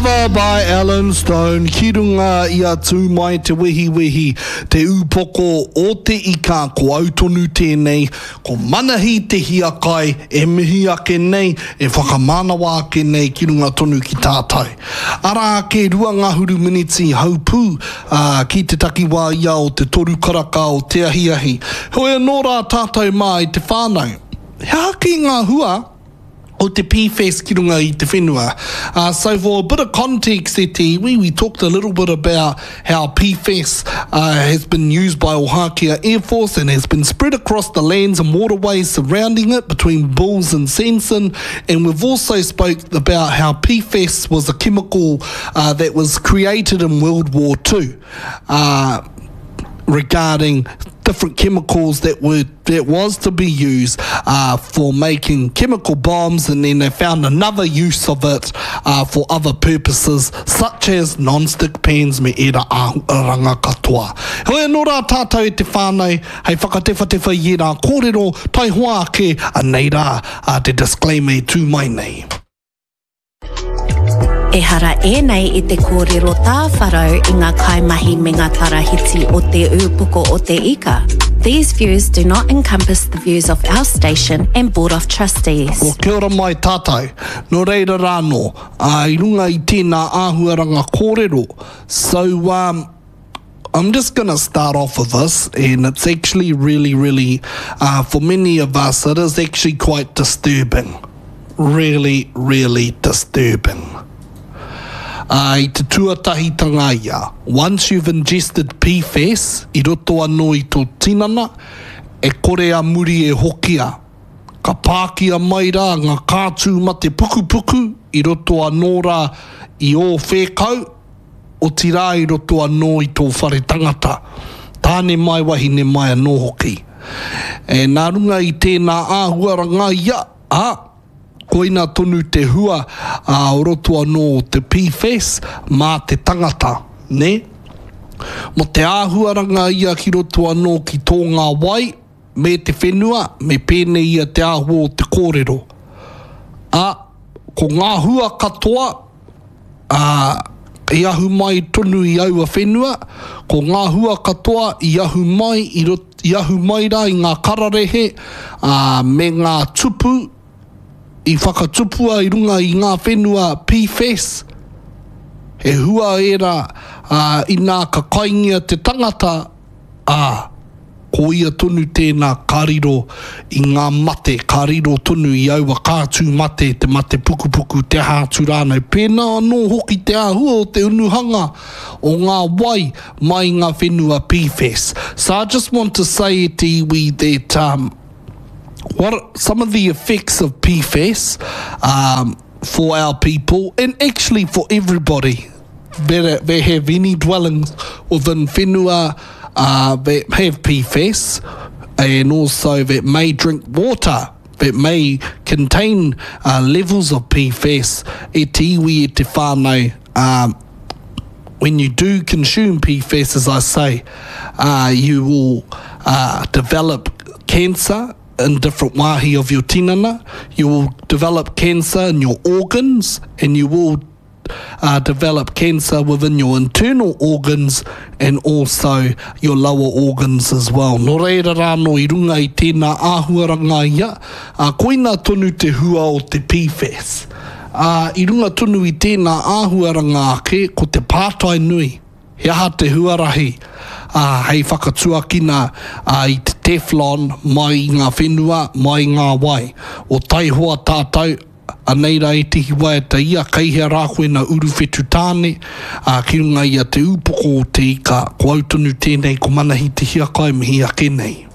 Lover by Allen Stone ki runga i a Tū Mai Te Wehiwehi, te ūpoko o te ika, ko au tonu tēnei, ko Manahi Te Hiakai e mihi ake nei, e whakamānawa ake nei ki runga tonu ki tātou. Arā ake 20 miniti haupū, ā, ki te takiwā ia o te toru karaka o te ahiahi. Heoi anō rā tātou mā i te whānau. He aha kē ngā hua o te PFAS ki runga i te whenua? Uh, so for a bit of context e te iwi, we talked a little bit about how PFAS uh, has been used by Ohakea Air Force and has been spread across the lands and waterways surrounding it between Bulls and Sanson. And we've also spoke about how PFAS was a chemical uh, that was created in World War II. Uh, regarding different chemicals that were that was to be used uh, for making chemical bombs, and then they found another use of it uh, for other purposes, such as non-stick pans me era āhuaranga katoa. Heoi anō rā tātou e te whānau, hei whakatewhatewha i ērā kōrero, taihoa ake, anei rā uh, te disclaimer e tū mai nei. Ehara ēnei i te kōrero tāwharau i ngā kaimahi me ngā tarahiti o Te Ūpoko o Te Ika. These views do not encompass the views of our station and Board of Trustees. Well, kia ora mai tātou. Nō reira rānō, ā, i runga i tēnā āhuaranga kōrero, so, um, I'm just gonna start off with this and it's actually really, really, uh, for many of us, it is actually quite disturbing. Really, really disturbing. Uh, i te tuatahitanga ia, once you've ingested PFAS i roto anō i tō tinana, e kore a muri e hokia. Ka pākia mai rā ngā kātū mate pukupuku i roto anō rā i ō whēkau, otirā i roto anō i tō whare tangata, tāne mai wahine mai anō hoki. E, nā runga i tēnā āhuaranga ia, ā, koina tonu te hua ā, o roto anō o te PFAS mā te tangata, nē? Mō te āhuaranga ia ki roto anō ki tō ngā wai me te whenua, me pēnei ia te āhua o te kōrero. Ā, ko ngā hua katoa, ā, i ahu mai tonu i aua whenua, ko ngā hua katoa i ahu mai i rot, i ahu mai rā i ngā kararehe, ā, me ngā tupu i whakatupua i runga i ngā whenua PFAS, he hua ērā, ā, inā ka kaingia te tangata, ā, ko ia tonu tēnā ka riro i ngā mate, ka riro tonu i aua kātū mate, te mate pukupuku, te aha atu rānei. Pēnā anō hoki te āhua o te unuhanga o ngā wai mai i ngā whenua PFAS. So I just want to say e te iwi that um, what some of the effects of PFAS um, for our people and actually for everybody that, that have any dwellings within whenua uh, that have PFAS and also that may drink water that may contain uh, levels of PFAS e te iwi e te whānau um, when you do consume PFAS, as I say, uh, you will uh, develop cancer in different wāhi of your tinana. You will develop cancer in your organs and you will uh, develop cancer within your internal organs and also your lower organs as well. Nō reira rānō i runga i tēnā āhuaranga ia, uh, koina tonu te hua o te PFAS. Uh, I runga tonu i tēnā āhuaranga ake, ko te pātai nui, he aha te huarahi uh, hei whakatuakina uh, i te Teflon mai i ngā whenua, mai i ngā wai. O taihoa tātou, Anei rā ētehi waiata ia, kei hea rā koe na Uruwhetu Tāne, ā, ki runga i a Te Ūpoko o Te Ika, ko au tonu tēnei, ko Manahi Te Hiakai mihi ake nei.